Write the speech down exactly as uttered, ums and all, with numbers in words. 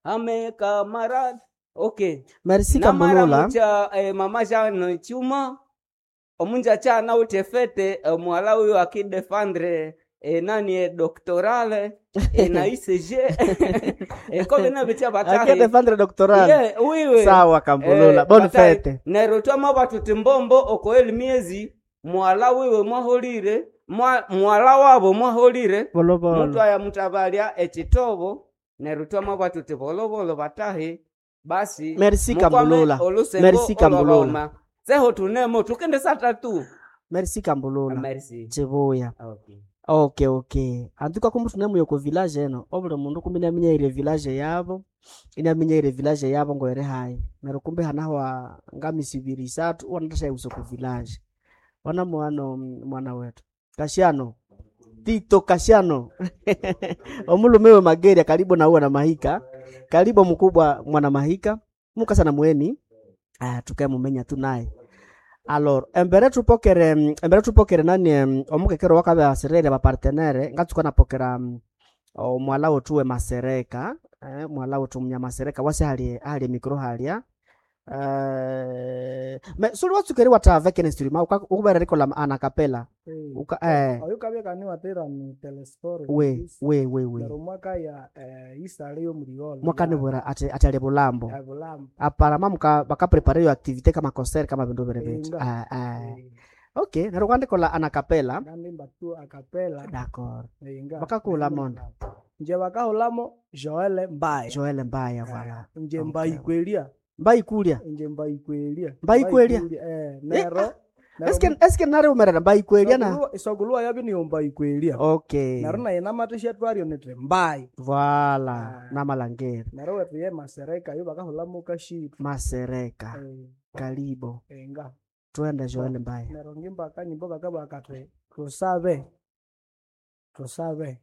Ame camarade. Ok. Merci Kambulula. Namara eh, mama Jeanne Chuma omunja chana ute fete eh, mwala huyo akidefendre eh, nani eh, doctorale eh, na I C G eh, kobe na bitia batahi. Akidefendre doctoral. Yeah, wiwe. Sawa Kambulula. Eh, Bonne batahi. fête. Neryo twama batuti mbombo okoeli miezi mwala wiwe mwaholire mwa, mwala wabo mwaholire Bolobolo. mutu aya mutabalya ekitobo neryo twama batuti bolobolo batahi basi. Merci mukwame Kambulula. olusengo Merci Kambulula. olwabauma. Seho tunemo tukende satatu. Merci Kambulula. Merci. Chibuya. Okay. Okay, okay. Antuka kumbu tunemuyo ku village eno. Obuli mundu kumbi naminya ile village yabo. Inaminya ile village yabo ngoere hayi. Neryo kumbi hanahwa ngamisi ibiri isathu wanatasha uso ku village. Wana mwana mwana wetu. Kashiano. Tito Kashiano. Omulume we Mageria karibu na uwa na Mahika. Karibu mkubwa mwana Mahika. Mukasa na mweni. Ah, tukae mumenya tu naye. Alors, embere tupokere embere tupokere nani em, omukekero wakabe aserere ba partenaire ngatsuka napokera mm, omwala wetu we Masereka eh, mwala wetu munyamasereka wase hali hali micro halia eh, me suli watsukeri wata avec un instrument ukubera rikola ana capella uka eh Oyo kabya niwatera ni telescore. We we we we. Neryo mwaka ya eh, isale yomuliola. Mwakanibwira ati ati ali bulambo. Bulambo. Aparama muka bakaprepare yo activité kama concert kama bindu bere bitu. Inga. Ah, ah. Okay, neryo kwandikola ana capella. Ngandimba tu acapella. D'accord. Inga. Bakakula mondo. Nje bakahulamo Joel Mbaye. Joel Mbaya, voilà. Nje Okay. Mbayikwelia. Mbayikulia. Nje Mbayikwelia. Mbayikwelia. Eh, nero. Eske eske nare umerera mbayikwelia na. Isogulwa yabi niyo Mbayikwelia. Okay. Nero naye namatisha twaryo niti Mbayi. Voilà, Ah. namalangeri. Nero wetu ye Masereka yo bakahulamo Kashitu. Masereka. Eh, Kalibo. inga. Twende Joel Mbaya. Nero ngimba akanyimbo kakaba kati tusabe. Tusabe.